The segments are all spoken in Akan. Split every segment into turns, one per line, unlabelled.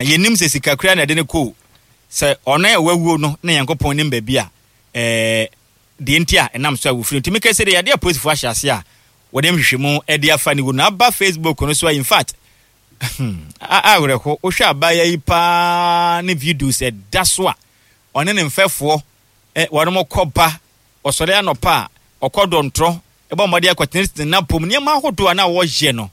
Yɛnnim sɛ sika koraa na ɛde no kɔ o, sɛ ɔno a wawuo no na Nyankopɔn nim baabi a ɛɛ deɛ nti a ɛnam so a wɔfiri. Nti meka sɛ deɛ yadeɛ a apolisifoɔ ahyɛ aseɛ a wɔde nhwehwɛmu de afa ne wu no aba Facebook no so a in fact awerɛho wohwɛ abaayewa yi paa ne videos ɛda so a ɔne ne mfɛfoɔ wɔn kɔ ba ɔsɔre anɔpa a ɔkɔ dɔntorɔ ɛbɔ mmɔden akɔtenetene n'apom nneɛma ahodoɔ a na wɔyɛ no.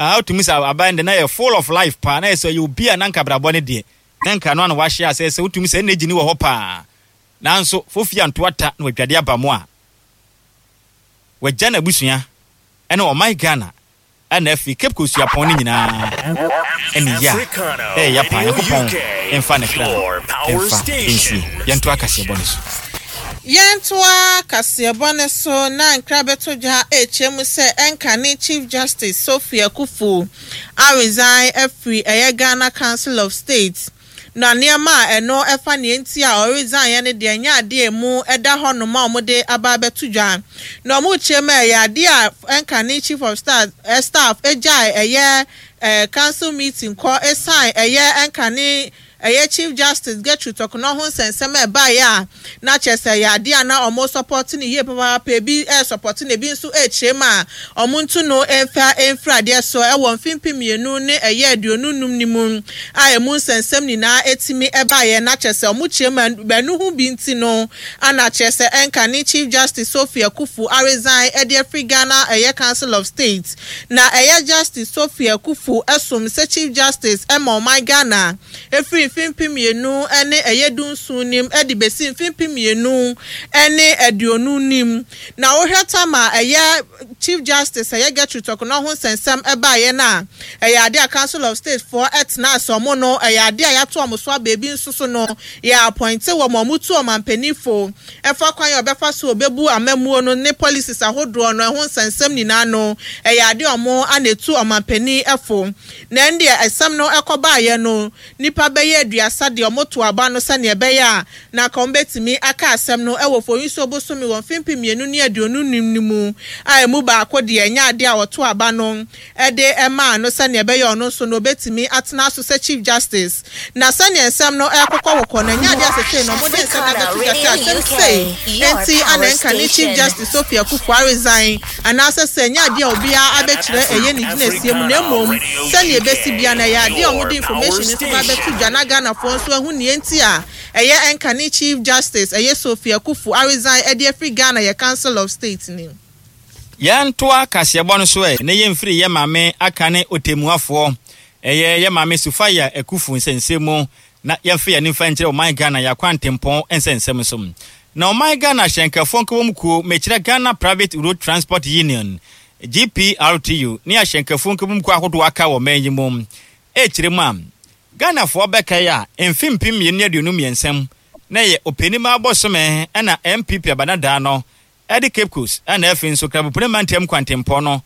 Ah wotumi sɛ aban de na yɛ full of life paa na yɛ sɛ ɔyɛ obi a na nka abrabɔ ne deɛ na nka no ano wahyɛ asɛ sɛ wotumi sɛ energy ne wɔ hɔ paa nanso fofi anto ata na wadwade aba mu a wagya n'abusua ɛne ɔman Ghana ɛna afei Cape Coast suapɔn no nyinaa ɛne yɛ a ɛyɛ ya paa Nyankopɔn mfa ne kra mfa nsie yɛnto akaseɛbɔ no so.
Yɛntoa kaseɛbɔ no so na nkra bɛto dwa rekyerɛ mu sɛ ɛnkane Chief Justice Sophie Akuffo aresign afiri ɛyɛ Ghana Council of State na nneɛma a ɛno ɛfa nea nti a ɔresign no deɛ ɛnyɛ adeɛ a ɛmu da hɔ nom a wɔde aba abɛto dwa na wɔrekyerɛ mu a ɛyɛ adeɛ a ɛnkane Chief of Staff gyae ɛyɛ Council meeting kɔ ɛsan ɛyɛ ɛnkane Ɛyɛ Chief Justice Gertrude Torkonor ho nsɛnsɛm a ɛbaeɛ a na kyerɛ sɛ ɛyɛ adeɛ a na wɔresɔpɔte no yie papaapa, ebi resɔpɔte no ebi nso rekyerɛ mu a wɔntu no mfa mfiri adeɛ so wɔ mfe 2025 no mu a ɛmu nsɛnsɛm nyinaa tumi baeɛ na kyerɛ sɛ wɔkyerɛ mu a ɛno ho bi nti no ana kyerɛ sɛ ɛnka ne Chief Justice Sophie Akuffo aresign de afiri Ghana ɛyɛ Council of State Na ɛyɛ Justice Sophie Akuffo som sɛ Chief Justice ma ɔman Ghana ɛfiri mfe 2000 ne ɛyɛ dunson nim de bɛsi mfe 2020 nim. Na wohwɛ tam a ɛyɛ Chief Justice ɛyɛ Gertrude Torkonor ho nsɛnsɛm baeɛ no a, ɛyɛ adeɛ a Council of State foɔ tenaa ase wɔn no ɛyɛ adeɛ a yɛato wɔn so aba ebi nso so no yɛ appointe wɔn a wɔtu ɔmanpanin fo ɛfa kwan a ɔbɛfa so ɔbɛbu amammuo no ne policies ahodoɔ no ɛho nsɛnsɛm nyinaa no, ɛyɛ adeɛ a wɔn ana ɛtu ɔmanpanin fo. Na ɛndeɛ ɛsɛm no ɛkɔbaeɛ no, nnipa bɛyɛ aduasa deɛ wɔto aba no sɛdeɛ ɛbɛyɛ a na anka wɔbɛtumi aka asɛm no ɛwɔ Foyinsuo bosome wɔ mfe 2025 no mu a ɛmu baako deɛ ɛnyɛ adeɛ a wɔto aba no de maa no sɛnea ɛbɛyɛ ɔno nso no obetumi atena so sɛ Chief Justice. Na sɛnea nsɛm no rekokɔkokɔ no, ɛnyɛ ade a seesei no wɔde nsɛm no abɛto dwa sɛ asɛm sei nti na ɛnka ne Chief Justice Sophie Akuffo aresign anaasɛ sɛ ɛnyɛ ade a obiara abɛkyerɛ ɛyɛ ne gyinasie mu na mmom sɛnea ebesi biara no ɛyɛ ade a wɔde information no nso ba abɛto dwa na Ghanafoɔ nso ahu nea enti a ɛyɛ ɛnka ne Chief Justice ɛyɛ Sophie Akuffo aresign de afiri Ghana yɛ Council of State no mu.
Yɛntoa kaseɛbɔ no so ɛ na yɛmfiri yɛ maame aka ne ɔtɛmmuafoɔ, ɛyɛ yɛ maame Sufaya Akuffo nsɛnsɛm mu na yɛmfa yɛn ani mfa nkyerɛ ɔman Ghana yɛn akwantempɔn nsɛnsɛm so. Na ɔman Ghana ahyɛnkafoɔ nkabom kuo, mekyerɛ Ghana Private Road Transport Union, GPRTU, ne ahyɛnkafoɔ nkabom kuo ahodoɔ aka wɔ ɔman yi mu ɛrekyerɛ mu a, Ghanafoɔ bɛkae a, mfe 2023 mu na ɛyɛ Ɔpɛnimaa bosome na NPP abanadaa no de Cape Coast na afei nso Krabopune mantam kwantempɔn no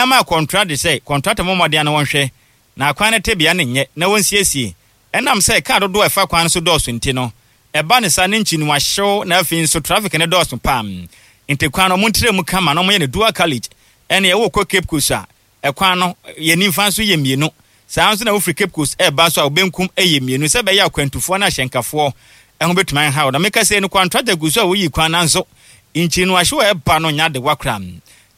maa kɔntra de sɛ kɔntrata mmɔ mmɔden na wɔnhwɛ na akwan no tebea no nyɛ na wɔnsiesie. Ɛnam sɛ kaa dodoɔ a ɛfa kwan no so dɔɔso nti no, ɛba no saa ne nkyinua hyew na afei nso traffic no dɔɔso paa nti kwan no wɔntrɛ mu kama na wɔyɛ no dual carriage. Ɛnneɛ wokɔ Cape Coast a, Ɛkwan no, yɛn nimfa nso yɛ mmienu. Saa ara nso na wofiri Cape Coast reba nso a, wo benkum yɛ mmienu sɛ ɛbɛyɛ a akwantufoɔ ne ahyɛnkafoɔ ho bɛtumi anha wo. Na meka sei no, kwantrata gu so a woyi kwan nanso nkyiri no ahyew a ɛba no nyɛ adewa koraa.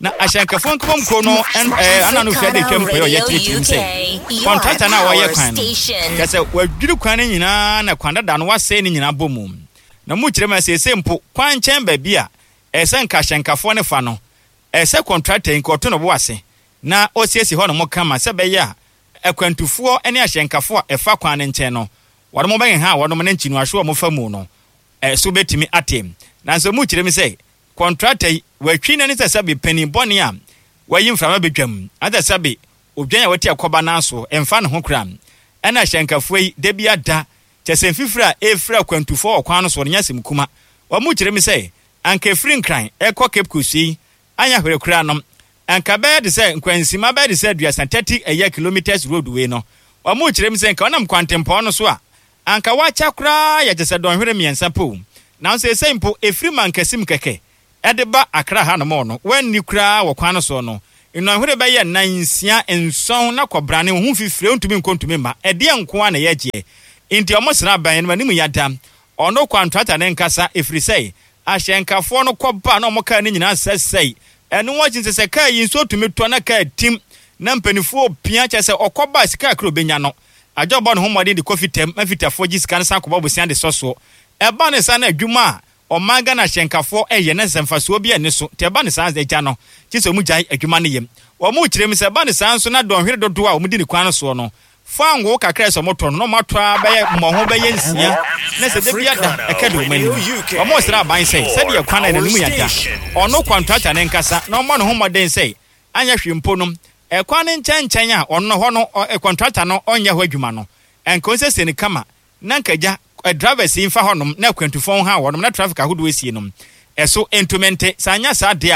Na ahyɛnkafoɔ nkabom kuo no ana no firi ade twam kɔyɛ ɔyɛ kyerɛkyerɛ mu sɛ kwantrata no a wɔyɛ kwan no, kyerɛ sɛ wɔadwiri kwan no nyinaa na kwan dada no wɔasɛe ne nyinaa bɔ mu. Na mu kyerɛ mu a seesei mpo kwan nkyɛn baabi a ɛsɛ nka ahyɛnkafoɔ no fa no, Ɛsɛ sɛ kɔntrakta yi nka ɔto ne bo ase na ɔsiesie hɔnom kama sɛ ɛbɛyɛ a akwantufoɔ ne ahyɛnkafo a ɛfa kwan no nkyɛn no, wɔnom bɛheha wɔnom ne nkyinoahyew a wɔfa mu no so bɛtumi ate. Nanso emu kyerɛ mu sɛ kɔntrakta yi watwi n'ani sɛ sɛbe panin bɔne a wayi mframa badwam, anaasɛ sɛbe odwan a wati akɔba nan so mfa ne ho koraa. Ɛna ahyɛnkafoɔ yi da bi ada, kyerɛ sɛ mfifire a ɛrefiri akwantufoɔ wɔ kwan no soɔ no nyɛ asɛm kuma. Wɔn kyerɛ mu sɛ Anka ɛfiri Nkran rekɔ Cape Coast yi anyɛ hwere koraa no, anka ɛbɛyɛ te sɛ nkwansima bɛyɛ te sɛ aduasa, 30 ɛyɛ kilometres road wei no. Wɔrekyerɛ mu sɛ nka wonam kwantempɔn no so a, anka woakyɛ koraa yɛ te sɛ dɔnhwere mmiɛnsa pɛ o. Nanso seesei mpo ɛfiri Mankasim kɛkɛ de ba Accra hanom no, woanni koraa wɔ kwan no soɔ no, Nnɔnhwere bɛyɛ nnan, nsia, nson na kɔbrane, wo ho fifire, wontumi nkɔ ntumi mma. Ɛdeɛn nko ara na ɛyɛ gyeɛ? Enti wɔsra abɛn no, m'anim yɛ da. Ɔno kwantrata no nkasa, ɛfiri sɛ ahyɛnkafoɔ no kɔ ba na wɔn kaa no nyinaa sɛsɛe. Ɛno akyi nso sɛ kaa yi nsuo tumi tɔ na kaa tim na mpanimfoɔ repia, kyerɛ sɛ ɔkɔ ba a sika kakra a ɔbɛnya no, agye ɔbɔ ne ho mmɔden de kɔ fitam ma fitafoɔ gye sika no san kɔbɔ bosea de sɔ soɔ. Ɛba no saa na adwuma a ɔman Ghana ahyɛnkafoɔ yɛ no sɛ mfasoɔ biara nni so, nti ɛba no saa agya no gye sɛ wɔgyae adwuma no yɛ. Wɔkyerɛ mu sɛ ɛba no saa nso na dɔnhwere dodoɔ a wɔdi no kwan no soɔ no, Fangoo kakra a ɛsɛ sɛ wɔtɔ no, na wɔatɔ ara bɛyɛ mmɔho bɛyɛ nsia, na sɛ da biara da ɛka di wɔn anim. Wɔresrɛ aban sɛ, sɛdeɛ kwan a n'anim yɛ da, ɔno kɔntrata no nkasa na ɔmmɔ ne ho mmɔden sɛ anyɛ hwee mpo no, ɛkwan no nkyɛnkyɛn a ɔno hɔ no kɔntrata no ɔnyɛ hɔ adwuma no, nka ɔnsiesie no kama na nka gya drivers yi mfa hɔnom na akwantufoɔ nha wɔnom na traffic ahodoɔ esie no, ɛso ntumi nte. Sɛ anyɛ saa deɛ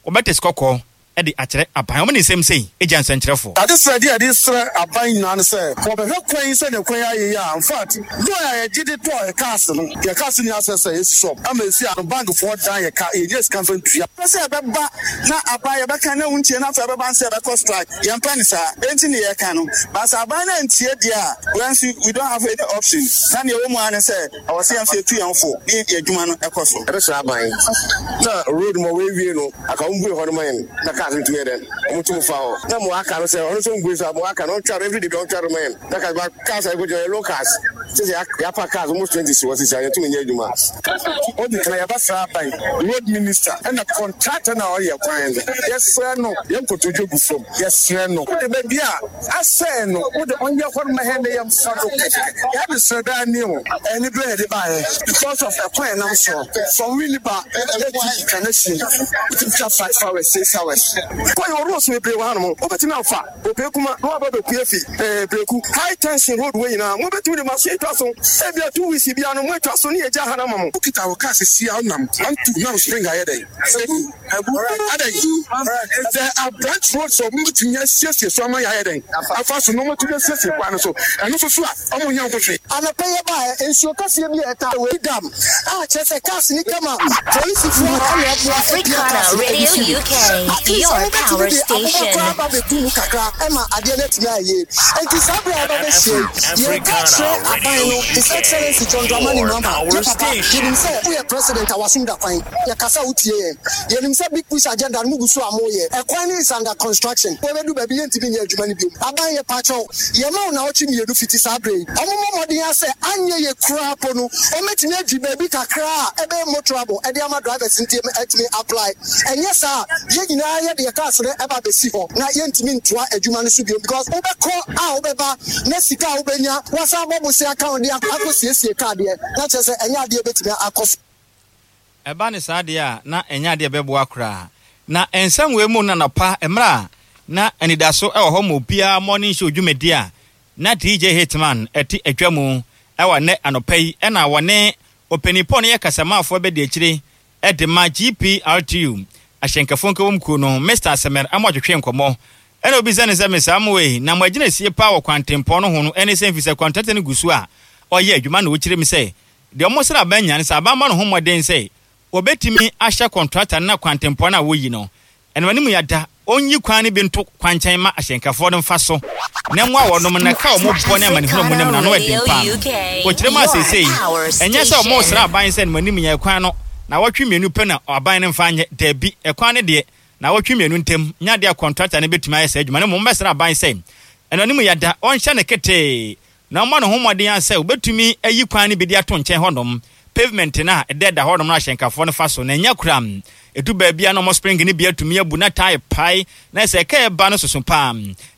a, wɔbɛte sikɔkɔɔ de akyerɛ aban. Wɔn ne nsɛm sei gya nsɛnkyerɛfoɔ.
Adesrɛdeɛ a yɛde srɛ aban nyinaa ne sɛ wɔbɛhwɛ kwan yi sɛdeɛ kwan yi ayɛ yi a, infact loan a yɛgye de tɔɔ yɛ cars no, yɛ cars nyinaa sɛ sɛ yɛsi shop ama ɛsi a no bank foɔ dan yɛ ka, yɛnnya sika mfa ntua. Yɛmpɛ sɛ ɛbɛba na aban yɛbɛka na wontie na afei ɛbɛba no sɛ yɛbɛkɔ strike, yɛmpɛ no saa, enti ne yɛka no. But sɛ aban no antie deɛ a, wɛn nso we don't have any option, na deɛ ɛwɔ mu ara ne sɛ Ɛwɔ sɛ yɛn nso yɛtu yɛn ho fo ne yɛn adwuma no kɔ so.
Yɛbɛsrɛ aban na road ma wɔawie no aka wɔn bue hɔ no ma yɛn na cars no tumi yɛ dɛn wɔn tum fa hɔ na mo aka no sɛ ɔno nso mbue so a mo aka no ɔntwa no everyday bi ɔntwa no ma yɛn na cars ba cars a yɛkɔgyina yɛ low cars sɛ sɛ yɛapa cars almost 20 si hɔ sisi a yɛntumi nyɛ adwuma.
Odi kan yɛbɛsrɛ aban, road minister ɛna contractor no a ɔyɛ kwan no yɛsrɛ no yɛn nkotodwe gu fam yɛsrɛ no wode baabi a Asɛɛ no wo de ɔnyɛ hɔ no ma hɛn na yɛmfa do kɛkɛ. Yɛadesrɛ daa nie o. Ɛne berɛ yɛde baeɛ because of ɛkwan a ɛnam soɔ from Winneba to Kaneshie wotumi twa 5 hours 6 hours.
Kɔ yɛwɔ roads bebree wɔ hanom wobɛtumi afa Opeekuma na waba abɛpue afi Breku high tension road wei nyinaa mobɛtumi de machine atwa so ebia 2 weeks biara no moatwa so ne yɛgya ha no ama mo.
Wokita wo car sisi a wonam 1 2 na wo spring ayɛ dɛn? Abu. Abu adɛn? There are branch roads a wɔbɛtumi asiesie so ama yɛayɛ dɛn afa so na wɔatumi asiesie kwan no so. Ɛno nso so a, wɔnyɛ ho hwee.
Anɔpa yi yɛbaeɛ, nsuo kɛseɛ bi a ɛtaa wei dam a kyerɛ sɛ cars no twam a polisifoɔ na ɛboa pia cars no de fi mu. At least wɔbɛtumi de aboba koraa aba abɛgu mu kakra ma adeɛ no atumi ayɛ yie. Enti saa berɛ a yɛba bɛhyia yi, yɛreka akyerɛ aban no, His Excellency John Dramani Mahama, yɛ papa, yɛnim sɛ woyɛ president a w'asom da kwan. Yɛkasa a wotie yɛn. Yɛnim sɛ big push agenda no mugu so a moyɛ. Ɛkwan no is under construction. Ɛbɛdu baabi yɛntumi nyɛ adwuma no biom. Aban yɛpakyɛw, yɛma wo naawɔtwe mmienu fiti saa berɛ yi. Wɔmmɔ mmɔden ara sɛ anyɛ yie koraa mpo no wɔbɛtumi agye baabi kakra a ɛbɛyɛ motorable de ama drivers no atumi apply. Ɛnyɛ saa a yɛn nyinaa yɛde yɛn cars no ba abɛsi hɔ na yɛntumi ntoa adwuma no so biom because wobɛkɔ a wobɛba na sika a wobɛnya woasan abɔ bosea aka ho de akɔsiesie car deɛ na kyerɛ sɛ ɛnyɛ adeɛ a ɛbɛtumi akɔ so.
Ɛba no saa deɛ a, na ɛnyɛ adeɛ a ɛbɛboa koraa. Na nsɛm wei mu no anɔpa, mmerɛ a na anidaso wɔ hɔ ma obiara morning show dwumadie a na DJ Hitman te adwa mu wɔ nnɛ anɔpa yi na wɔne Ɔpanin Paul no yɛ kasamafoɔ bɛdi akyire de ma GPRTU ahyɛnkafoɔ nkabom kuo no, Mister Asemer Amoah twetwee nkɔmmɔ ɛna obisa no sɛ, Mister Amoah, na mo agyinasie paa wɔ kwantempɔn no ho no ɛne sɛn firi sɛ kwantrata no gu so a ɔyɛ adwuma na ɔkyerɛ mu sɛ Deɛ wɔsrɛ aban nyinaa ne sɛ aban mmɔ ne ho mmɔden sɛ wɔbɛtumi ahyɛ kɔntrata no na kwantempɔn no a wɔyi no ɛno anim yada ɔnyi kwan no bi nto kwankyɛn ma ahyɛnkafoɔ no mfa so na mmoa wɔnom na ka wɔn bɔ ne amanehunu a wɔnam no ano ɛden paa no. Wɔkyerɛ mu a seesei ɛnyɛ sɛ wɔresrɛ aban sɛ no anim yɛ kwan no nawɔtwe mmienu pɛ na aban no mfa nyɛ, dabi, ɛkwan no deɛ nawɔtwe mmienu ntam nyɛ adeɛ a kɔntrata no bɛtumi ayɛ saa adwuma no, mmom wɔbɛsrɛ aban sɛ ɛno anim yada ɔnhyɛ no ketee Na ɔmmɔ ne ho mmɔden ara sɛ obetumi ayi kwan no bi de ato nkyɛn hɔnom, pavement no a ɛdɛɛda hɔnom no ahyɛnkafoɔ no fa so, na ɛnyɛ koraa. Ɛdu baabi a na wɔn spring no bi atumi abu na tae pae, na sɛ ɛka ɛba no soso paa.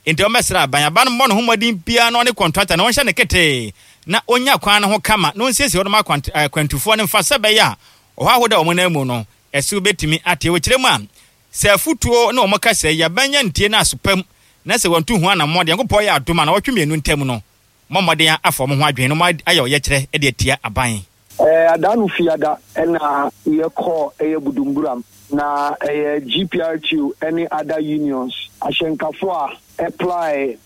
Enti wɔbɛsrɛ aban, aban no mmɔ ne ho mmɔden biara na ɔne kɔntrata no ɔnhyɛ no ketee na ɔnya kwan no ho kama na ɔnsiesie hɔnom akwantufoɔ no mfa sɛ ɛbɛyɛ a ɔhaw ahodoɔ a wɔn nan mu no ɛso bɛtumi ate. Wɔ kyerɛ mu a, sɛ afutuo ne wɔn kasa yi aban nya ntie no aso pa mu na sɛ wɔantu ho anammɔn de, Nyankopɔn yɛ adom a, naawɔtwe mmienu ntam no, mommɔ mmɔden afa wɔn ho adwene na moayɛ ɔyɛkyerɛ de atia aban.
Adaanu Fiada na yɛkɔɔ ɛyɛ Budumburam na ɛyɛ GPRTU ne other unions ahyɛnkafo a. Ply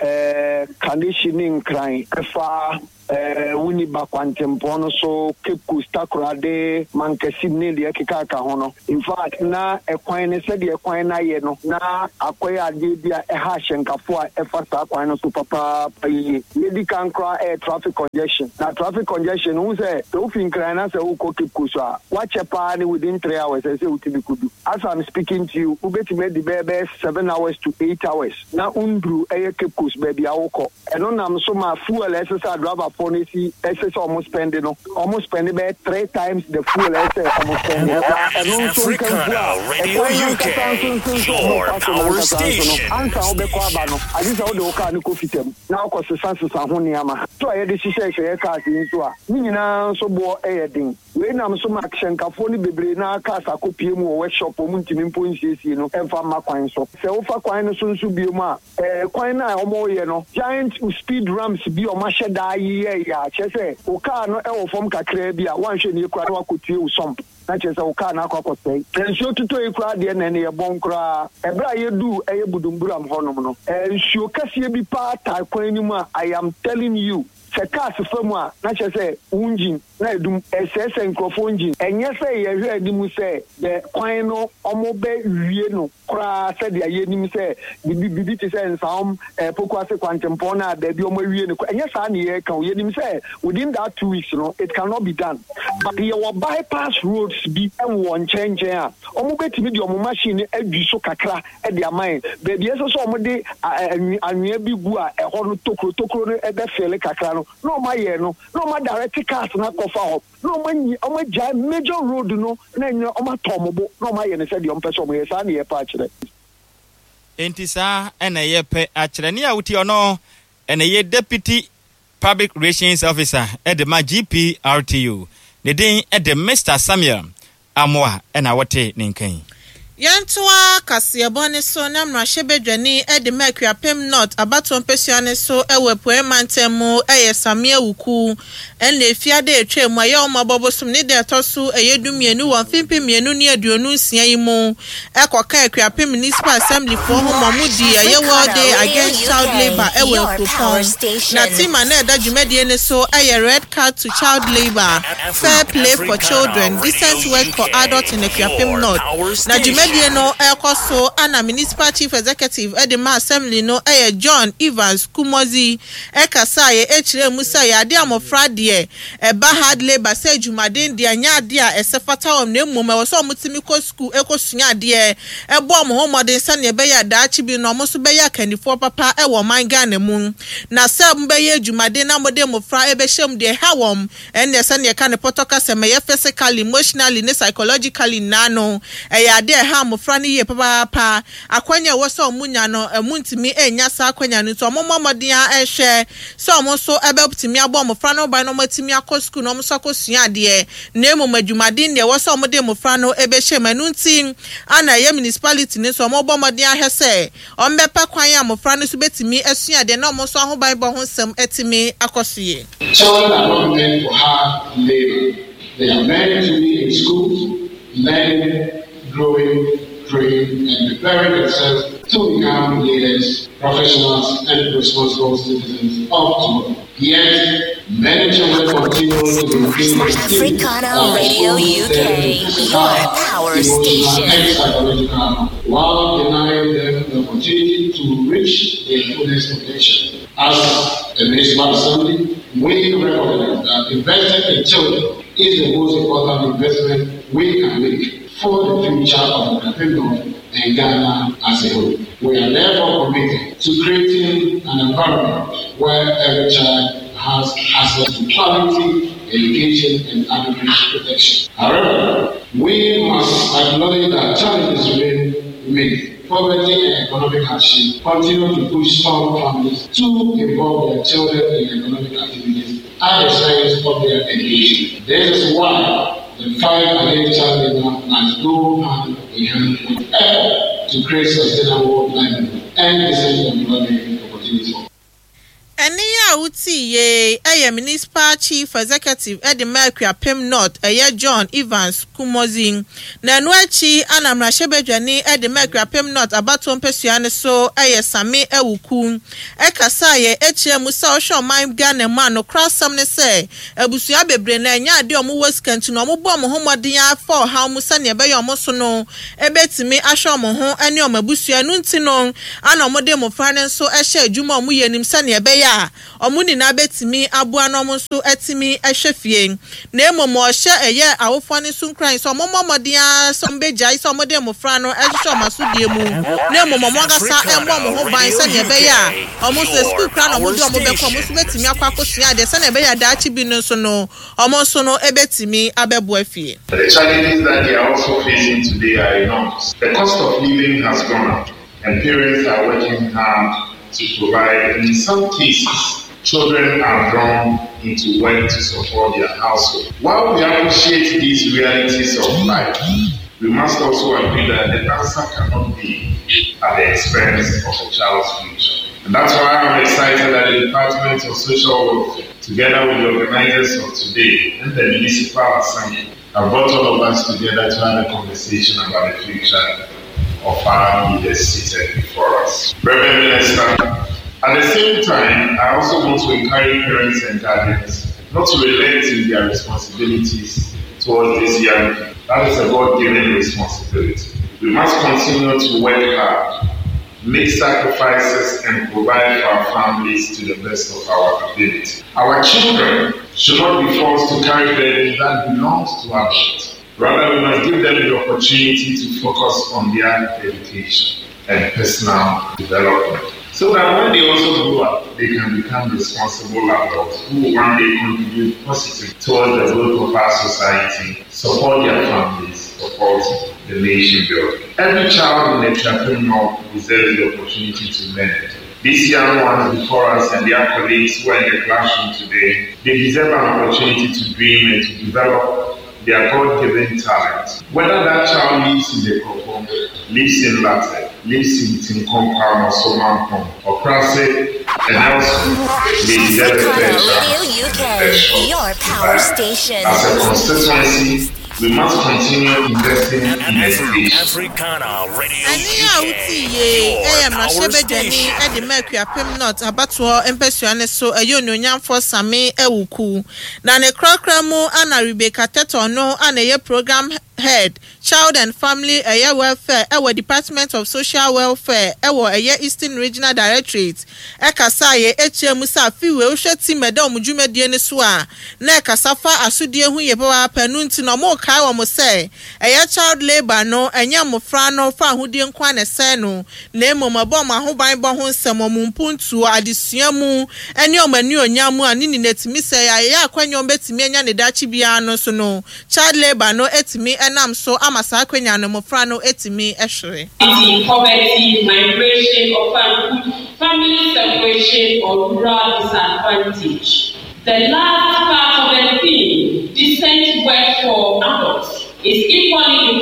Kaneshie ne Nkran fa Winneba kwantempɔn no so, Cape Coast, Takoradi, Mankasim ne deɛ ɛkekaka ho no. In fact, na ɛkwan no sɛdeɛ kwan no ayɛ no, na akɔyɛ adeɛ bi a ɛha ahyɛnkafoɔ a ɛfa saa kwan no so papaapa yie. Deɛ ɛdi kan koraa ɛyɛ traffic congestion. Na traffic congestion no, wohu sɛ sɛ wofi Nkran na sɛ wokɔ Cape Coast a, woakyɛ paa ne within 3 hours ɛsɛ sɛ wotumi kɔdu. As I'm speaking to you, wobɛtumi adi bɛyɛ bɛyɛ 7 hours to 8 hours na wonduru ɛyɛ Cape Coast baabi a wokɔ. Ɛno nam so ma fuel a ɛsɛ sɛ adriverfoɔ no si ɛsɛ sɛ ɔmo spend no, ɔmo spend bɛyɛ three times the fuel a ɛsɛ ɔmo spend. Na ɛno nso nkamfu a ɛkwan no ankasa nso nso nso ɔmo fa so no ankasa nso no, ansa wobɛkɔ aba no, agye sɛ wode wo kaa no kɔ fitam na wokɔ sesa sesa ho nneɛma. So a yɛde hyehyɛ hyehyɛ cars yi nso a, ne nyinaa nso boɔ yɛ den. Wei nam so ma ahyɛnkafoɔ no bebree no ara cars akɔpue mu wɔ workshop a wɔntumi mpo nsiesie no mfa mma kwan so. Sɛ wofa kwan no so nso bio a, kwan no a wɔreyɛ no, giant speed ramps bi a wɔahyɛ da ayeyɛeɛ a kyerɛ sɛ wo car no wɔ fam kakraa bi a, woanhwɛ no yie koraa na woakɔtue wo sump na kyerɛ sɛ wo car no akɔ akɔsɛe. Na nsuo totɔ yi koraa deɛ na ɛno yɛ bɔn koraa. Ɛberɛ a yɛduu ɛyɛ Budumburam hɔnom no, nsuo kɛseɛ bi paa tae kwan no mu a I am telling you, sɛ cars fa mu a na kyerɛ sɛ wo engine na ɛdum, ɛsɛesɛe nkurɔfoɔ engine. Ɛnyɛ sɛ yɛhwɛ anim sɛ the kwan no wɔbɛ wie no koraa sɛdeɛ yɛnim sɛ bibi bibi te sɛ Nsaom, Pokuase kwantempɔn no a baabi wɔn awie no koraa, ɛnyɛ saa na yɛreka o. Yɛnim sɛ within that 2 weeks no it cannot be done, but yɛwɔ bypass roads bi wɔ nkyɛn nkyɛn a wɔbɛtumi de wɔn machine no adwi so kakra de ama yɛn. Baabi a ɛsɛ sɛ wɔde anwea bi gu a ɛhɔ no tokuro tokuro no bɛfeele kakra no, na wɔayɛ no, na wɔadirect cars no akɔfa hɔ, na wɔanyi wɔagyae major road no na ɛnyɛ wɔatɔ wɔn bo na wɔayɛ no sɛdeɛ wɔpɛ sɛ wɔyɛ. Saa na yɛpɛ akyerɛ.
Enti saa na yɛpɛ akyerɛ. Nea wotie ɔno na ɛyɛ Deputy Public Relations Officer de ma GPRTU. Ne din de Mister Samuel Amoah na wote ne nka yi.
Yɛntoa kaseɛbɔ no so na mmarahyɛbadwani de ma Akuapem North abatoɔ mpasua no so wɔ Apueɛ Mantam mu yɛ Samia Wuku. Ɛna Efiada a ɛtwaa mu a ɛyɛ Ɔmɔbɔ bosom ne da ɛtɔ so ɛyɛ 12 wɔ mfe 2026 yi mu kɔkaa Akuapem Municipal Assembly foɔ ho ma wɔn dii ɛyɛ World Day Against Child Labour wɔ Nkuropɔn. Na theme a na ɛda dwumadie no so yɛ Red Card to Child Labour, Fair Play for Children, Decent Work for Adults in Akuapem North. Na dwumadie no rekɔ so na Municipal Chief Executive de ma Assembly no yɛ John Evans Kumodzi kasaeɛ kyerɛɛ mu sɛ ɛyɛ adeɛ a mmɔfra deɛ ɛba hard labour sɛ adwumaden deɛ ɛnyɛ adeɛ a ɛsɛ fata wɔn na mmom ɛwɔ sɛ wɔtumi kɔ sukuu kɔsua adeɛ bɔ wɔn ho mmɔden sɛdeɛ ɛbɛyɛ a daakye bi no wɔn nso bɛyɛ akannifoɔ papa wɔ ɔman Ghana mu. Na sɛ mobɛyɛ adwumaden na mode mmɔfra bɛhyɛ mu deɛ ɛha wɔn ɛnneɛ sɛdeɛ yɛka no pɔtɔ kasa mu ɛyɛ physically, emotionally ne psychologically nyinaa no ɛyɛ adeɛ a ɛha mmɔfra no yie papaapa. Akwanya a ɛwɔ sɛ wɔnya no, wɔntumi nnya saa akwanya no nti wɔmmɔ mmɔden ara nhwɛ sɛ wɔn nso bɛtumi abɔ mmɔfra no ho ban na wɔatumi akɔ sukuu na wɔn nso akɔsua adeɛ na mmom adwumaden deɛ ɛwɔ sɛ wɔde mmɔfra no bɛhyɛ mu. Ɛno nti na ɛyɛ municipality no nso wɔrebɔ mmɔden ahwɛ sɛ wɔbɛpɛ kwan a mmɔfra no nso bɛtumi asua adeɛ na wɔn nso ahobanbɔ ho nsɛm atumi akɔ so yie.
Children are not meant for hard labor. They are meant to be in school, learning, growing, praying, and preparing themselves to become leaders, professionals, and responsible citizens of tomorrow. Yet, many children continue to be
Africana Radio UK, your power station.
And psychological, while denying them the opportunity to reach their fullest potential. As a municipal assembly, we recognize that investing in children is the most important investment we can make for the future of the North and Ghana as a whole. We are therefore committed to creating an environment where every child has access to quality education and adequate protection. However, we must acknowledge that challenges remain many. Poverty and economic hardship continue to push some families to involve their children in economic activities at the expense of their education. This is why the fight against child labor must go hand in hand with effort to create sustainable livelihood and decent employment opportunities.
Ɛnne a wotii yei yɛ Municipal Chief Executive de ma Akuapem North ɛyɛ John Evans Kumodzi. Na ɛno akyi na mmarahyɛbadwani de ma Akuapem North abatoɔ mpasua no so yɛ Same Awuku kasaeɛ kyerɛɛ mu sɛ wohwɛ ɔman Ghana mu a nokorɛ asɛm ne sɛ abusua bebree no ɛnyɛ adeɛ a wɔwɔ sika nti no wɔbɔ wɔn ho mmɔden ara fa ɔhaw mu sɛdeɛ ɛbɛyɛ wɔn so no bɛtumi ahwɛ wɔn ho ne wɔn abusua. Ɛno nti no na wɔde mmofra no nso hyɛ adwuma a wɔyɛ no mu sɛnea ɛbɛyɛ a wɔn nyinaa bɛtumi aboa na wɔn nso atumi ahwɛ fie. Na mmom wɔhyɛ ɛyɛ awofoɔ no nso nkuran sɛ wɔmmɔ mmɔden ara sɛ wɔbɛgyae sɛ wɔde mmofra no hyehyɛ wɔn asodie mu na mmom wɔn ankasa mmɔ wɔn ho ban sɛnea ɛbɛyɛ a wɔn nso sukuu koraa na wɔde wɔn bɛkɔ wɔn nso bɛtumi akɔ akɔsua adeɛ sɛnea ɛbɛyɛ a daakye bi no nso no wɔn nso no bɛtumi abɛboa fie.
The challenges that they are also facing today are enormous. The cost of living has gone up, and parents are working hard to provide. And in some cases, children are drawn into work to support their household. While we appreciate these realities of life, we must also agree that the answer cannot be at the expense of a child's future. And that's why I'm excited that the Department of Social Welfare, together with the organizers of today and the Municipal Assembly, have brought all of us together to have a conversation about the future of our leaders seated before us. Reverend Minister, at the same time, I also want to encourage parents and guardians not to relent in their responsibilities towards these young people. That is a God given responsibility. We must continue to work hard, make sacrifices, and provide for our families to the best of our ability. Our children should not be forced to carry burdens that belongs to adults. Rather, we must give them the opportunity to focus on their education and personal development. So that when they also grow up, they can become responsible adults who will one day contribute positively towards the growth of our society, support their families, support the nation building. Every child in the Trapin deserves the opportunity to learn. These young ones before us and their colleagues who are in the classroom today, they deserve an opportunity to dream and to develop their God given talent. Whether that child lives in the Kokom, lives in Latte, lives in Tinkompa or Somampong, or Krase, and elsewhere, they deserve a fair
Radio UK, your power station.
As a constituency, we must continue investing in education.
Africana Radio
Ɛnne a wotii yei yɛ mmarahyɛbadwani de ma Akuapem North abatoɔ mpasua no so ɛyɛ Onuonyamfoɔ Sammy Awuku. Na ne korakora mu na Rebecca Tetteh no a na ɛyɛ Programme Head, Child and Family ɛyɛ Welfare ɛwɔ Department of Social Welfare ɛwɔ ɛyɛ Eastern Regional Directorate ɛkasaeɛ ɛkyerɛɛ mu sɛ afe wei wohwɛ team ɛda wɔn dwumadie no so a na ɛkasa fa asodie ho yie papaapa ɛno nti no wɔrekae wɔn sɛ ɛyɛ child labour no ɛnyɛ mmofra no fa ahodie nko ara na ɛsɛe no na mmom ɛbɔ wɔn ahobanbɔ ho nsɛm, wɔn mpuntuo, adesua mu ne wɔn anuonyam mu a ne nyinaa tumi sɛe a ɛyɛ akwanya a wɔbɛtumi anya no daakye biara no nso no child labour no tumi nam so ama saa akwanya no mmofra no tumi hwere.
Poverty, migration, orphanhood, family separation, or rural disadvantage. The last part of the theme, decent work for adults, is equally important.